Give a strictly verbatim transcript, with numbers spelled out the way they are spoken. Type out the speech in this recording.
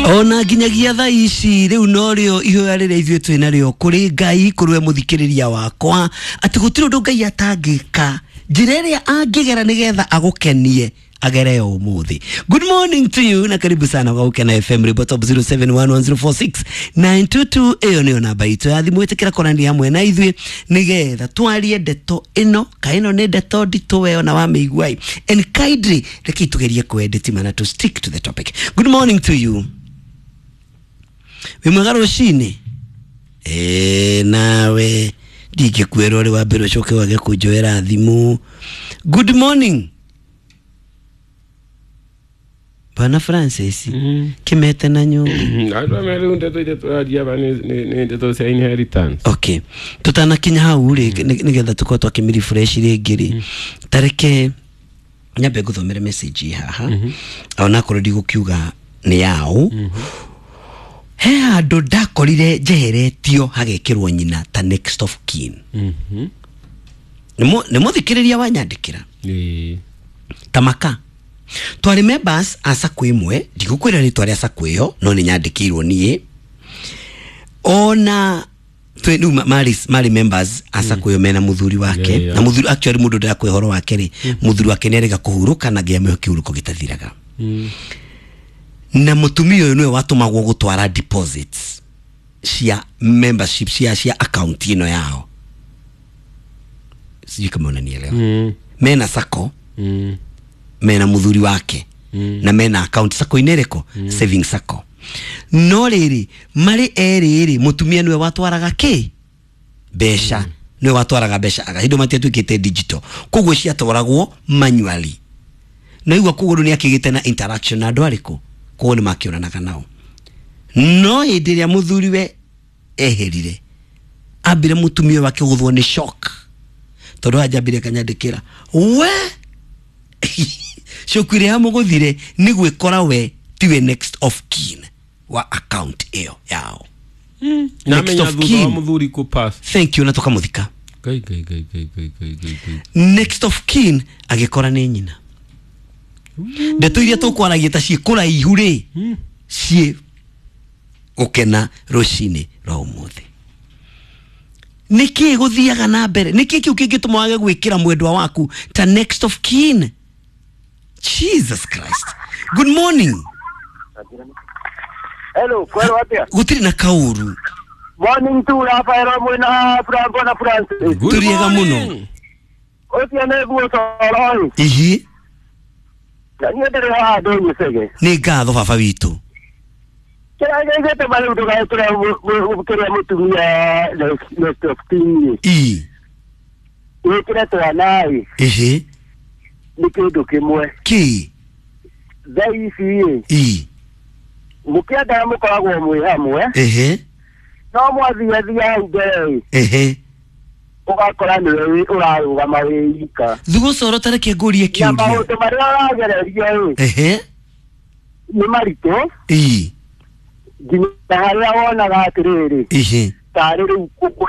Ona nginyagia thaa ici rĩu norĩo ihoya rĩrĩa ithuĩ twĩ narĩo kũrĩ Ngai, kũrĩ we mũthikĩrĩria wakwa, atĩ gũtirĩ ũndũ Ngai atangĩka, njĩra ĩrĩa angĩgera nĩgetha agũkenie agere yo ũmũthĩ. Good morning to you na karibu sana kwa Gukena F M rĩmbo top zero seven one one zero four six nine two two, ĩyo nĩyo namba itũ ya thimũ. Ĩtĩkĩra kwaranĩria hamwe na ithuĩ nĩgetha twarie ndeto ĩno, ka ĩno nĩ ndeto nditũ we ona wamĩigua. And kindly reke tugerie kwendeti na to stick to the topic. Good morning to you, wĩ mwega rũcinĩ? Ĩĩ, nawe ndingĩkwĩra ũrĩ wa mbere ũcoke wage kũnjoera thimũ. Good morning, Bwana Francis. Mm. Kimete na nyũngũ. Andũ amwe rĩu ndeto iria tũraria aba nĩ nĩ- nĩ ndeto cia inheritance. Okay, tutanakinya hau rĩ, nĩ- nĩgetha tũkorwo twakĩmĩ refresh rĩngĩ rĩ, tareke nyambe ngũthomere message ĩ haha, onakorwo ndigũkiuga nĩ yaũ. He handũ ndakorire njeheretio hagekĩrwo nyina ta next of kin. Mhm. Nĩ mũ- nĩ mũthikĩrĩria wanyandĩkĩra. Ĩĩ. Tamaka twarĩ members a sacco ĩmwe, ndigũkwĩra rĩtwa rĩa sacco ĩyo, no nĩ nyandĩkĩirwo niĩ ona twĩ rĩu ma- marĩ marĩ members a sacco ĩyo mena mũthuri wake. Yeah, yeah. Na mũthuri, actually mũndũ ndĩrakũhe ũhoro wake rĩ, mũthuri wake nĩ arega kũhurũka na Ngai amũhe kĩhurũko gĩtathiraga. Mm. Na mũtumia ũyũ nĩwe watũmagwo gũtwara deposits cia membership cia cia account ĩno yao. Sijui kama unanielewa. Mm. Mena sacco, Mm. mena muthuri wake, Mm. na mena account sacco-inĩ ĩrĩkũ? Saving sacco. No rĩrĩ, marĩ erĩ rĩ, mũtumia nĩwe watwaraga kĩ mbeca, nĩwe watwaraga mbeca aga hĩndĩ matiatuĩkĩte digital, koguo ciatwaragwo manually. Na igua koguo rĩu nĩ akĩgĩte na interaction na andũ arĩkũ, koguo nĩ makĩonanaga nao. No hĩndĩ ĩrĩa mũthuri we eherire, ambire mũtumia wake gũthwo nĩ shock, tondũ anjambire kanyandĩkĩra we shock ĩrĩa yamũgũthire nĩ gwĩkora we tiwe next of kin wa account ĩyo yao. Na Next menya of thutha wa kin. mũthuri kũ pass. Thank you. Na tũkamũthika. Ngai, Ngai, Ngai, Ngai, Ngai, Ngai, Ngai, Ngai. Next of kin agĩkora nĩ nyina. Ndeto iria tũkwaragia ta ciĩ kũraihu rĩ, ciĩ gũkena rũcinĩ rwa ũmũthĩ. Nĩkĩ gũthiaga na mbere? Nĩkĩ kĩu kĩngĩtũma wage gwĩkĩra mwendwa waku ta next of kin? Jesus Christ. Good morning. Hello, kwero atia? Gũtirĩ na kaũru. Morning to Rafael mwena Franco na Francis. Good Tũrĩega mũno. morning. Ũcio nĩ guo toro. Ihi. Na niĩ ndĩrĩ haha ndũnyĩcege. Nĩ ngatho baba witũ. Kĩrĩa gĩgĩte marĩu ndũgaĩkĩre kĩrĩa mũtumia next of kin. Ii. Wĩkĩre twana ĩ Ihi. nĩ kĩndũ kĩmwe. Kĩ? Thaa ici ĩ Ii. mũkĩendaga mũkoragwo mwĩ hamwe, Ehe. no mwathiathia hau mbere ĩ Ehe. ũgakora nĩwe ũrarũgama wĩ ika. Thugũcoro, tareke ngũrie Na kĩũria. maũndũ marĩa ũragererio ĩ Ehe. nĩ maritũ Ii. nginya harĩa wonaga atĩrĩrĩ Ihi. tarĩ rĩu